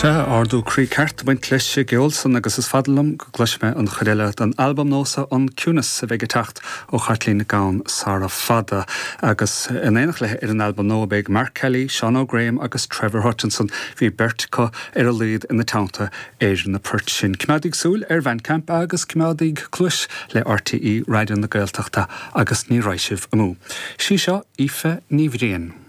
Sea, ardú croí ceart ag baint leis an gceol san agus is fada liom go gcloisfidh mé an chuid eile den albam nua so, An Ciúnas, a bheidh ag teacht ó Chaitlín gan sara fada. Agus in éineacht léi ar an albam nua beidh Mark Kelly, Seán Óg Graham agus Trevor Hutchinson, bhí beirt acu ar a laghad ina teannta ar na poirt sin. Coimeádaíg súil ar Bhandcamp agus coimeádaíg cluais le RTÉ Raidió na Gaeltachta agus ní raghaidh sibh amú. Sí seo Aoife Ní Bhriain.